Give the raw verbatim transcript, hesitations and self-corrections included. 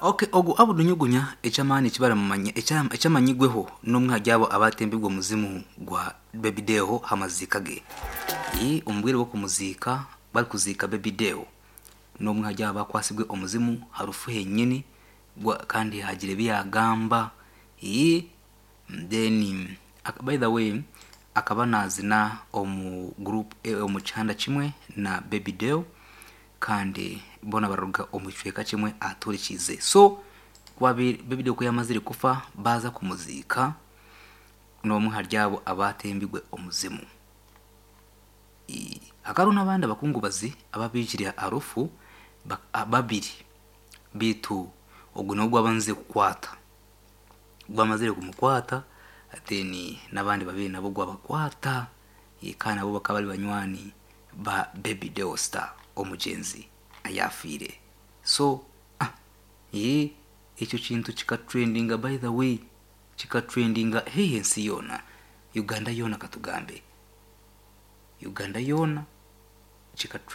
Okay, ogu Abudu Nyugunya, ekyamaani ekibaramumanya, ekyamanyigweho, n'omwe hali abo abatembibwe omuzimu gwa Baby Deo hamaziika ge. Ii, omu bwire bw'okumuziika, barikuziika Baby Deo, n'omwe hali abo abakwasibwe omuzimu harufu henyini gwa- kandi hagira ebi yagamba. Ii, then ak- by the way, akaba nazina omu group, eh, omu kihanda kimwe na Baby Deo, kandi bona baruga omu kicweka kimwe aturikize. So kwabi Baby Deo ku yamazire kufa, baza kumuziika, n'omwe hali abo abatembibwe omuzimu. Ii, hakariho n'abandi abakungubazi ababijire harufu ba- a- babiri, bitu ogu niwo gwabanze kukwata, gwamazire kumukwata, then n'abandi babiri nabo gwabakwata. Eh, kandi nabo bakaba bari banywani ba Baby Deo Star, omugyenzi ayafiire. So ah, eh, ekyo kintu kikatrendinga, by the way, kikatrendinga hehe ensi yoona, Uganda yoona, katugambe Uganda yoona kikatrendinga.